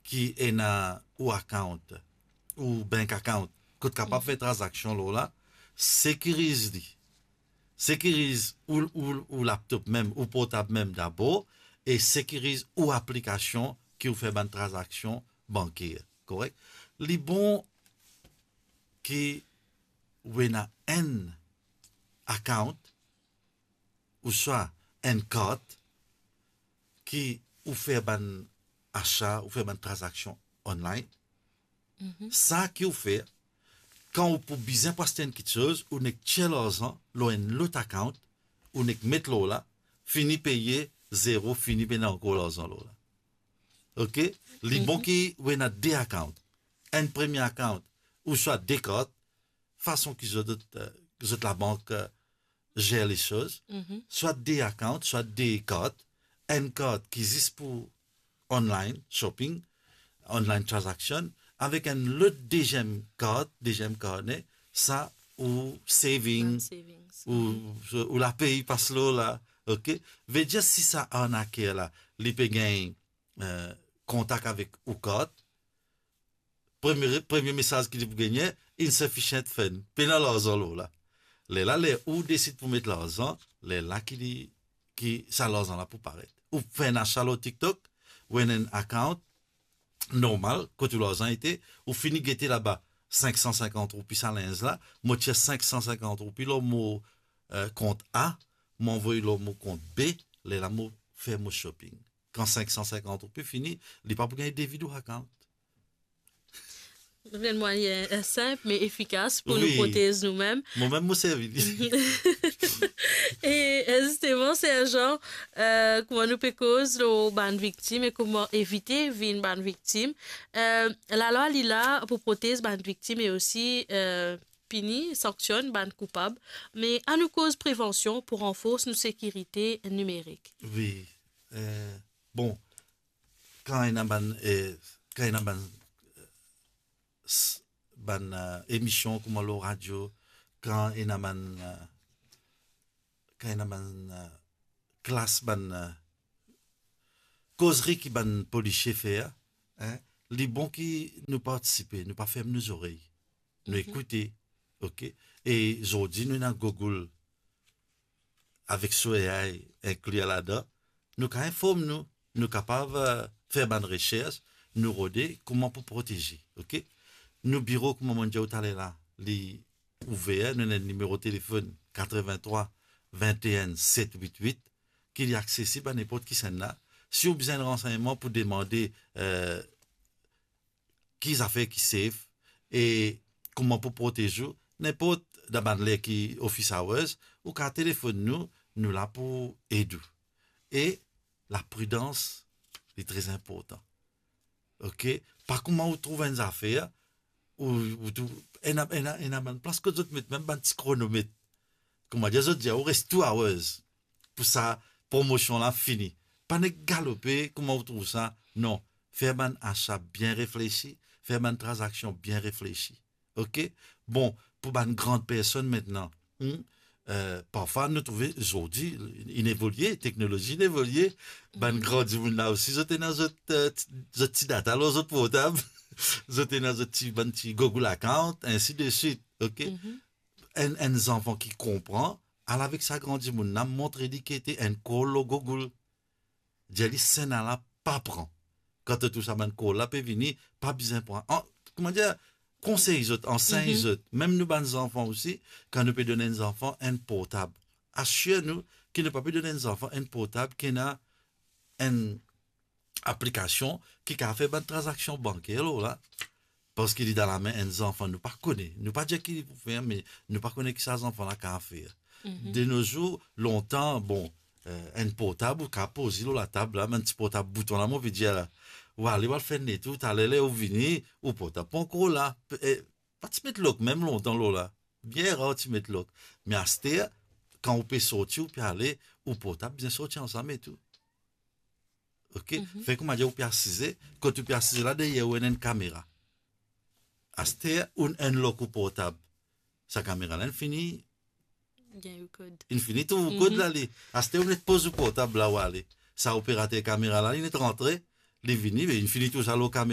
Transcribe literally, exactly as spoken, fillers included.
ki ena ou account, ou bank account, kot kapav fer tranzaksion lor la, sekiriz li. Sekiriz ou, ou, ou laptop mem, ou portab mem dabor, e sekiriz ou aplikasion ki ou fer bann tranzaksion banker, korek? Li bon ki ou ena enn account, ouswa enn kart ki ou fer bann asa, ou fer bann tranzaksion online. Mhm. Sa ki ou fer, kan ou pou bizin pou aste enn kiksoz, ou nek tir larzan lor enn lot account, ou nek met lor la, fini peye zero, fini pena ankor larzan lor la. Ok? Li bon ki ou ena de account. Enn premie account, ouswa de kart, fason ki zot, zot, eh, zot labank, eh, zer lesoz, swa de account, swa de kart, enn kart ki zis pou online shopping, online transaction, avek enn lot deziem kart, deziem karne, sa ou saving, Bank savings. Ou, ou lapey pas lor la, ok? Vedir si sa arnaker la, li pe gagn, eh, kontak avek ou kart, premie, premie mesaz ki li pou gagne, "Insufficient fund." Pena larzan lor la. Lerla, ler ou desid pou met larzan, lerla ki li, ki sa larzan la pou paret. Ou fer enn asa lor TikTok, ou ena enn account normal, kot ou larzan ete, ou fini gete laba sink san sinkant roupi sa linz la, mo tir sink san sinkant roupi lor mo, eh, kont A, mo anvoy lor mo kont B, lerla mo fer mo shopping. Kan sink san sinkant roupi fini, li pa pou gagn debit ou account. Enn mwayin, eh, sinp me efikas pou nou protez noumem. Momem mo servi li. E, eh, zisteman, Serjan, eh, kouma nou pe koz lor bann viktim e kouma evite vinn bann viktim, eh, lalwa li la pou protez bann viktim e osi, eh, pini, sanksionn bann koupab. Me anou koz prevansion pou ranfors nou sekirite nimerik. Wi. Eh, bon, kan ena bann, eh, kan ena bann, eh, s-, bann, eh, emision kouma lor radio, kan ena bann, eh, kan ena bann, eh, klas, bann, eh, kozri ki bann polisie fer, hein, li bon ki nou partisipe, nou pa ferm nou zorey. Nou ekoute, ok? E zordi nou ena Google avek so A I inkli ladan, nou kapav inform nou, nou kapav, eh, fer bann resers, nou rode kouma pou proteze, ok? Nou biro, kouma mo dir ou taler la, li ouver, nou ena nimero telefonn katrevin-trwa, vin-e-enn, set wit wit, ki li aksesib a ninport kisannla. Si ou bizin ransegnman pou demande, eh, ki zafer ki safe e kouma pou protez ou, ninport dan bann ler ki office hours, ou kapav telefonn nou, nou la pou ed ou. E lapridans, li tre inportan. Ok? Pa kouma ou trouv enn zafer, ou, ou trouv, ena, ena, ena bann plas kot zot met mem bann ti kronomet. Kouma dir, zot dir ou res two hours pou sa promosion la fini. Pa nek galope kouma ou trouv sa, non. Fer bann asa bien reflesi, fer bann tranzaksion bien reflesi. Ok? Bon, pou bann gran personn mintnan, hmm, eh, parfwa nou trouve zordi, inn evolie, teknolozi inn evolie, bann gran dimoun la osi, zot ena zot, eh, ti, zot ti data lor zot portab, zot ena zot ti, bann ti Google account, ainsi de suite, ok? Enn, enn zanfan ki konpran, al avek sa gran dimoun la, montre li ki ete enn call lor Google. Dir li, "Sa la pa pran." Kan to trouv sa bann call la pe vini, pa bizin pran. An, kouma dir, konsey zot, ansegn zot. Mem nou bann zanfan osi, kan nou pe donn enn zanfan enn portab, asir nou ki nou pa pe donn enn zanfan enn portab ki ena enn aplikasion ki kapav fer bann tranzaksion banker lor la. Parski li dan lame enn zanfan nou pa kone. Nou pa dir ki li pou fer, me nou pa kone ki sa zanfan la kapav fer. De no zour, lontan, bon, eh, enn portab ou kapav poz li lor latab la, bann ti portab bouton la, mo pe dir la. Ou ale, ou al fer net ou, taler ler ou vini, ou portab pa ankor la. Pe-, eh, pa ti met lok mem lontan lor la. Bien rar ti met lok. Me aster, kan ou pe sorti, ou pe ale, ou portab bizin sorti ansam e tou. Ok? Fer kouma dir ou pe asize, kot ou pe asize la, deryer ou ena enn kamera. Aster, ou enn lok ou portab. Sa kamera la, inn fini, Gagn ou kod. Inn fini trouv ou kod la, li. Aster ou net poz ou portab la, ou ale. Sa operater kamera la, li net rantre, li vini, me inn fini trouv sa lor kamera.